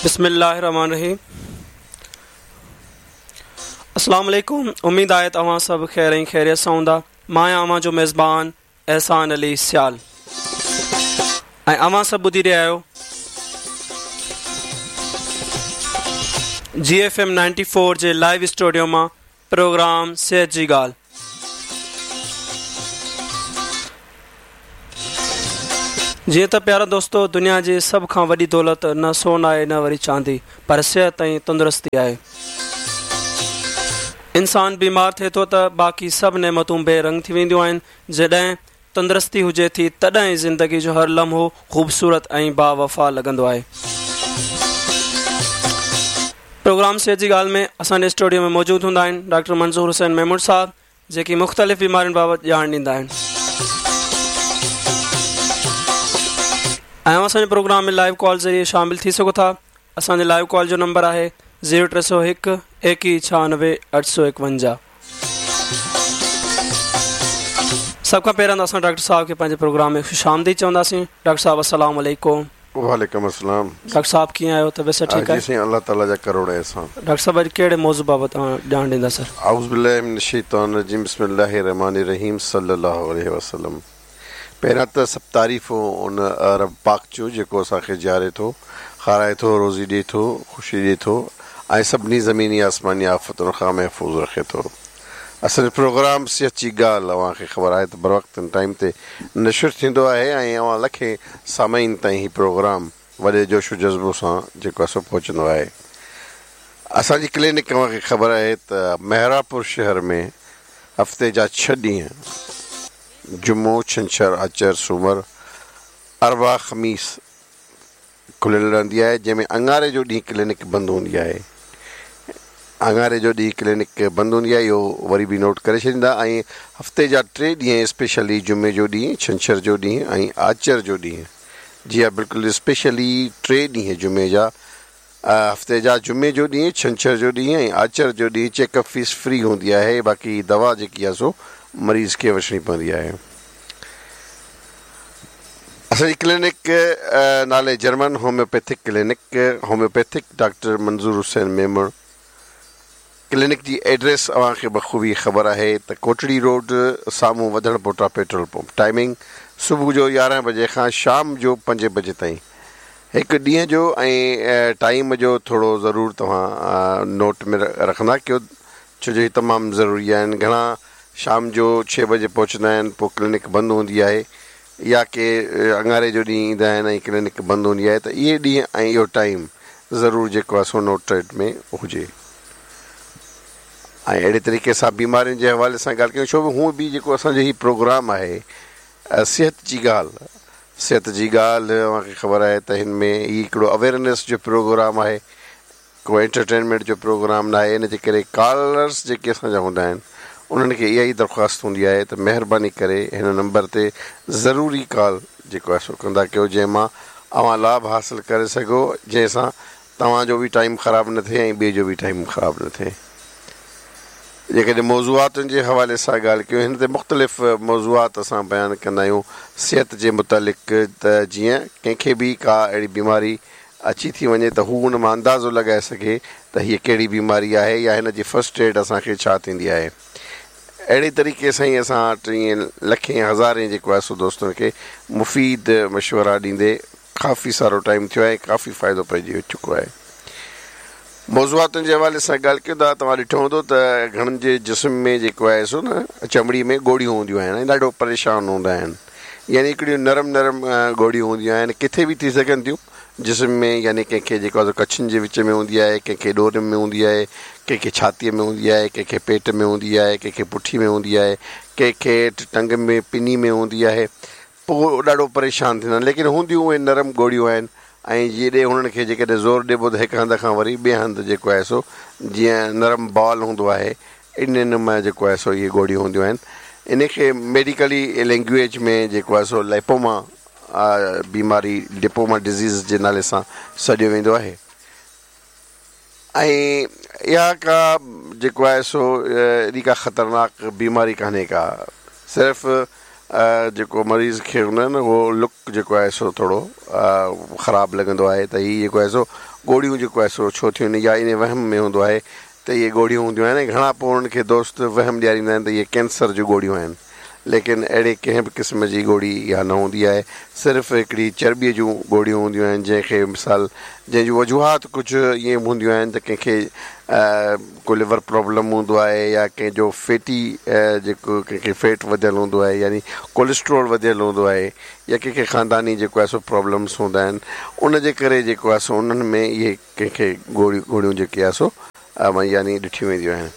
بسم الله الرحمن الرحيم السلام عليڪم اميد آهي ته اوهان سڀ خير ۽ خيريت سان هوندا مان آهيان اوهان جو ميزبان احسان علي سيال ۽ اوهان سڀ ٻڌي رهيا آهيو جي ايف ايم 94 جي لائيو اسٽوڊيو مان پروگرام صحت جي ڳالهه. جيئن ته پيارا دوستو دنيا جي سڀ کان وڏي دولت نه سون آهي نه وري چاندي پر صحت ۽ تندرستي آهي. انسان بيمار ٿئي ٿو ته باقي سڀ نعمتون بي رنگ ٿي وينديون آهن جڏهن تندرستي هجي ٿي تڏهن ئي زندگي جو هر لمحو خوبصورت ۽ باوفا لڳندو آهي. پروگرام صحت جي ڳالهه ۾ اسان جي اسٽوڊيو ۾ موجود هوندا آهن ڊاڪٽر منظور حسين ميمڻ صاحب جيڪي مختلف بيمارين بابت ڄاڻ ڏيندا آهن ۽ اوهان اسان جي پروگرام ۾ لائيو ڪال ذريعي شامل ٿي سگهو ٿا اسان جي لائيو ڪال جو نمبر آهي زيرو 301 21 96 851. سڀ کان پهريان ته اسان ڊاڪٽر صاحب کي پنهنجي پروگرام ۾ خوش آمديد چونداسين. ڊاڪٽر صاحب السلام عليڪم. وعليڪم السلام. ڊاڪٽر صاحب ڪيئن آهيو طبيعت صحت ٺيڪ آهي؟ جي سائين الله تعالي جا ڪروڙ احسان. ڊاڪٽر صاحب اڄ ڪهڙي موضوع بابت اوهان ڄاڻ ڏيندا سر؟ اعوذ بالله من الشيطان الرجيم بسم الله الرحمٰن الرحيم صلي الله عليه وسلم پهريان ته سڀ تعريفون ان رب پاڪ جو جيڪو اسان کي جياري ٿو، کارائي ٿو، روزي ڏئي ٿو، خوشي ڏئي ٿو ۽ سڀني زميني آسماني آفتن کان محفوظ رکي ٿو. اسان جو پروگرام صحت جي ڳالهه اوهان کي خبر آهي ته بروقت ۽ ٽائيم تي نشر ٿيندو آهي ۽ اوهان لکين سامعين تائين هي پروگرام وڏي جوش و جذبو سان جيڪو آهي سو پهچندو آهي. اسان جي ڪلينڪ اوهان کي خبر آهي ته محرابپور شهر ۾ هفتي جا ڇهه ڏينهن جمعو، ڇنڇر، آچر، سومر، اربع، خميس کليل رهندي آهي جنهن ۾ اڱاري جو ڏينهن ڪلينڪ بند هوندي آهي. اڱاري جو ڏينهن ڪلينڪ بند هوندي آهي اهو وري به نوٽ ڪري ڇڏيندا ۽ هفتي جا ٽي ڏينهن اسپيشلي جمعي جو ڏينهن، ڇنڇر جو ڏينهن ۽ آچر جو ڏينهن جي ها بلڪل اسپيشلي ٽي ڏينهن جمعي جا هفتي جا جمعي جو ڏينهن، ڇنڇر جو ڏينهن ۽ آچر جو ڏينهن چيڪ اپ فيس فري هوندي آهي باقي دوا جيڪي آهي سو مريض کي وٺڻي پوندي آهي. اسان جي ڪلينڪ نالي German homeopathic clinic, homeopathic doctor Manzoor Hussain Memon, clinic جي ايڊريس اوهان کي بخوبي خبر آهي ته ڪوٽڙي روڊ سامهون وڌڻ پوٽا پيٽرول پمپ ٽائمنگ صبح جو 11 بجي کان شام جو 5 بجي تائين هڪ ڏينهن جو ۽ ٽائيم جو ٿورو ضرور توهان نوٽ ۾ رکندا ڪيو ڇو جو هي تمام ضروري آهن گهڻا شام جو 6 بجي پهچندا آهن پوء ڪلينڪ بند هوندي آهي يا ڪي اڱاري جو ڏينهن ايندا آهن ۽ ڪلينڪ بند هوندي آهي ته اهي ڏينهن ۽ اهو ٽائيم ضرور جيڪو آهي سو نوٽيڊ ۾ هجي ۽ اهڙي طريقي سان بيمارين جي حوالي سان ڳالهه ڪيون ڇو هونء به جيڪو اسان جو هي پروگرام آهي صحت جي ڳالهه صحت جي ڳالهه اوهان کي خبر آهي ته هن ۾ هي هڪڙو اويئرنيس جو پروگرام آهي ڪو انٽرٽينمينٽ جو پروگرام ناهي ان جي ڪري ڪالرس جيڪي اسان جا هوندا آهن انهن کي اها ئي درخواست هوندي آهي ته مهرباني ڪري هن نمبر تي ضروري ڪال جيڪو آهي سو ڪندا ڪيو جنهن مان اوهان لاڀ حاصل ڪري سگهو جنهن سان توهان جو به ٽائيم خراب نه ٿئي ۽ ٻئي جو به ٽائيم خراب نه ٿئي. جيڪڏهن موضوعاتن جي حوالي سان ڳالهه ڪيون هن تي مختلف موضوعات اسان بيان ڪندا آهيون صحت جي متعلق ته جيئن ڪنهن کي به ڪا اهڙي بيماري اچي ٿي وڃي ته هو ان مان اندازو لڳائي سگهي ته هيء ڪهڙي بيماري آهي يا هن جي فرسٽ ايڊ اسان کي ڇا ٿيندي آهي. اهڙي طريقي سان ئي اسان وٽ ائين لکين هزارين جيڪو آهي سو دوستن کي مفيد مشورا ڏيندي ڪافي سارو ٽائيم ٿيو آهي ۽ ڪافي فائدو پئجي چڪو آهي. موضوعاتن جي حوالي سان ڳالهه ڪيون ته توهان ڏٺو هوندو ته گهڻن جي جسم ۾ جيڪو آهي سو نه چمڙي ۾ ڳوڙهيون هونديون آهن ۽ ڏاڍو پريشان هوندا آهن يعني هڪڙيون نرم نرم ڳوڙهيون هونديون آهن ڪٿي به ٿي سگهن ٿيون جسم ۾ يعني ڪنهن کي جيڪو آهي سو ڪڇن جي وچ ۾ هوندي آهي ڪنهن کي ڏورين ۾ هوندي آهي ڪنهن کي ڇاتيء ۾ هوندي آهي ڪنهن کي پيٽ ۾ هوندي آهي ڪنهن کي پٺي ۾ هوندي آهي ڪنهن کي ٽنگ ۾ پني ۾ هوندي آهي پوء ڏاڍو پريشان ٿيندا آهن ليڪن هونديون اهي نرم ڳوڙهيون آهن ۽ جيڏي هنن کي جيڪڏهن زور ڏبو ته هڪ هنڌ کان وري ٻئي هنڌ جيڪو آهي سو جيئن نرم بال هوندو آهي ان مان جيڪو آهي سو اهي ڳوڙهيون هونديون آهن ان کي ميڊيڪلي لينگويج ۾ جيڪو آهي سو لائپوما بيماري لپوما ڊزيز جي نالي سان سڏيو ويندو آهي ۽ اها ڪا جيڪو آهي سو ايڏي ڪا خطرناڪ بيماري ڪانهي ڪا صرف جيڪو مريض کي هوندو آهي نه اهو لڪ جيڪو آهي سو ٿورو خراب لڳندو آهي ته هي جيڪو آهي سو ڳوڙهيون جيڪو آهي سو ڇو ٿيون يا ان وهم ۾ هوندو آهي ته اهي ڳوڙهيون هونديون آهن ۽ گهڻا پوء انهن کي دوست وهم ڏياريندا آهن ته اهي ڪينسر جون ڳوڙهيون آهن ليڪن اهڙي ڪنهن به قسم جي ڳوڙهي اها نه هوندي آهي صرف هڪڙي چرٻيء جون ڳوڙهيون هونديون آهن جنهن کي مثال جنهن جون وجوهات ڪجهه ائين به هونديون آهن ته ڪنهن کي ڪو ليور پرابلم هوندو آهي يا ڪنهن جو فيٽي جيڪو ڪنهن کي فيٽ وڌيل هوندو آهي يعني ڪوليسٽرول وڌيل هوندو آهي يا ڪنهن کي خانداني جيڪو آهي سو پرابلمس هوندا آهن ان جي ڪري جيڪو آهي سو انهن ۾ اهي ڪنهن کي ڳوڙهيون ڳوڙهيون جيڪي آهي سو يعني ڏٺيون وينديون آهن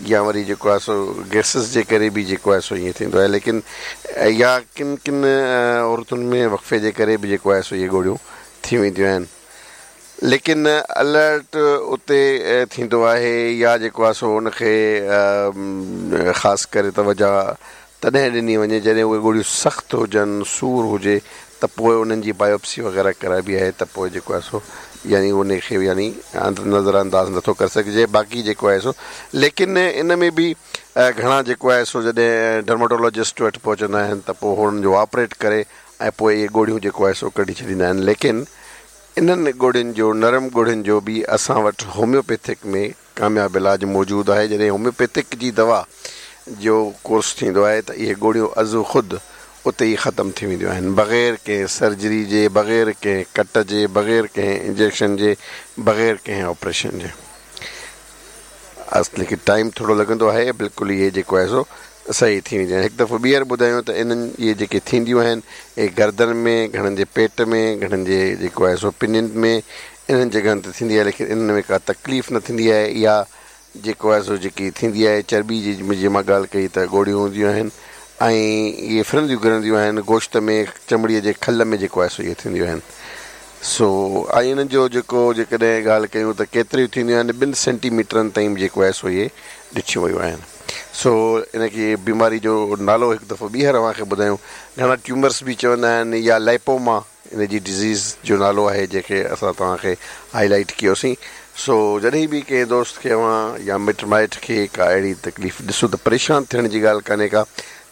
يا وري جيڪو آهي سو گئسز جي ڪري به جيڪو آهي سو ائين ٿيندو آهي ليڪن يا ڪن ڪن عورتن ۾ وقفي جي ڪري به جيڪو آهي سو اهي ڳوڙهيون ٿي وينديون آهن ليڪن الرٽ اتي ٿيندو آهي يا جيڪو آهي سو ان کي خاص ڪري توجه تڏهن ڏني وڃي جڏهن اهي ڳوڙهيون سخت هجن سور هجي ته پوء انهن جي بايوپسي وغيره ڪرائبي آهي ته پوء جيڪو آهي سو يعني ان کي يعني نظر انداز نٿو ڪري سگهجي باقي جيڪو آهي سو ليڪن ان ۾ به گهڻا جيڪو آهي سو جڏهن ڊرماٽولاجسٽ وٽ پهچندا آهن ته پوء هنن جو آپريٽ ڪري ۽ پوء اهي ڳوڙهيون جيڪو آهي سو ڪڍي ڇڏيندا آهن ليڪن انهن ڳوڙهين جو نرم ڳوڙهين جو به اسان وٽ هوميوپيٿڪ ۾ ڪامياب علاج موجود آهي جڏهن هوميوپيٿڪ جي دوا جو ڪورس ٿيندو آهي ته اهي ڳوڙهيون از خود اتي ئي ختم ٿي وينديون آهن بغير ڪنهن سرجري جي بغير ڪنهن ڪٽ جي بغير ڪنهن انجيڪشن جي بغير ڪنهن آپريشن جي. ليڪن ٽائيم ٿورو لڳندو آهي بلڪل اهي جيڪو آهي سو صحيح ٿي وينديون آهن هڪ دفعو ٻيهر ٻڌايون ته انهن اهي جيڪي ٿينديون آهن اهي گردن ۾ گهڻن جي پيٽ ۾ گهڻن جي جيڪو آهي سو پنين ۾ انهن جڳهن تي ٿيندي آهي ليڪن انهن ۾ ڪا تڪليف نه ٿيندي آهي اها جيڪو آهي سو جيڪي ٿيندي آهي چرٻي جي جي مان ڳالهه ڪئي ته ڳوڙهيون هونديون آهن ۽ اهي ڦرنديون گهرنديون آهن گوشت ۾ چمڙي جي کل ۾ جيڪو آهي سو اهي ٿينديون آهن سو ۽ انهن جو جيڪو جيڪڏهن ڳالهه ڪيون ته ڪيتريون ٿينديون آهن ٻن سينٽي ميٽرن تائين به جيڪو آهي سو اهي ڏٺيون ويون آهن سو ان کي بيماري جو نالو هڪ دفعو ٻيهر اوهان کي ٻڌايون گهڻا ٽيومرس به چوندا آهن يا لائپوما ان جي ڊزيز جو نالو آهي جنهن کي اسان توهان کي هائي لائيٽ ڪيوسين سو جڏهن به ڪنهن دوست کي اوهان يا مٽ مائٽ کي ڪا اهڙي تڪليف ڏسو ته پريشان ٿيڻ جي ڳالهه ڪانهي ڪا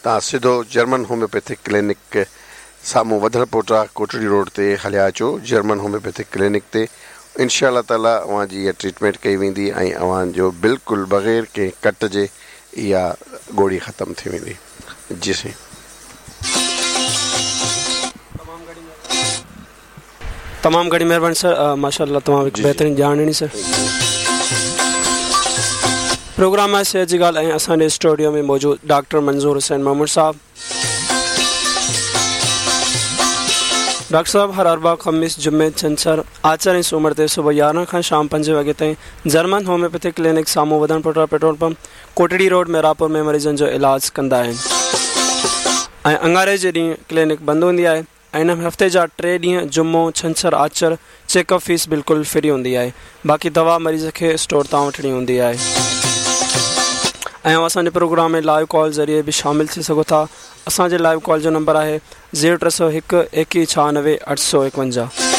توهان سڌو جرمن هوميوپيٿڪ ڪلينڪ سامهون وڌڻ پوٽا ڪوٽڙي روڊ تي هليا اچو جرمن هوميوپيٿڪ ڪلينڪ تي انشاء الله تعالي اوهان جي اها ٽريٽمينٽ ڪئي ويندي ۽ اوهان جو بلڪل بغير ڪنهن ڪٽ جي اها ڳوڙهي ختم ٿي ويندي جي سائين. تمام گهڻي مهرباني سر ماشاء الله تمام هڪ بهترين ڄاڻ ڏني سر پروگرام آهي صحت جي ڳالهه ۽ اسان جي اسٽوڊيو ۾ موجود ڊاڪٽر منظور حسين ميمڻ صاحب ڊاڪٽر صاحب هر اربع خميس جمعي ڇنڇر آچر ۽ سومر تي صبح 11 کان شام 5 وڳي تائين جرمن هوميوپيٿڪ ڪلينڪ سامهون وڌڻ پوٽا petrol pump Kotri road Mehrabpur ۾ مريضن جو علاج ڪندا آهن ۽ اڱاري جي ڏينهن ڪلينڪ بند هوندي آهي ۽ ان هفتي جا ٽي ڏينهن جمعو، ڇنڇر، آچر چيڪ اپ فيس بلڪل فري هوندي آهي باقي دوا مريض کي اسٽور تان وٺڻي هوندي آهي ۽ اوهان اسان جي پروگرام ۾ لائيو ڪال ذريعي به شامل ٿي سگهو ٿا اسان جي لائيو ڪال جو نمبر آهي زيرو ٽي سو هڪ ايڪيهه ڇهانوي اٺ سو ايڪونجاهه.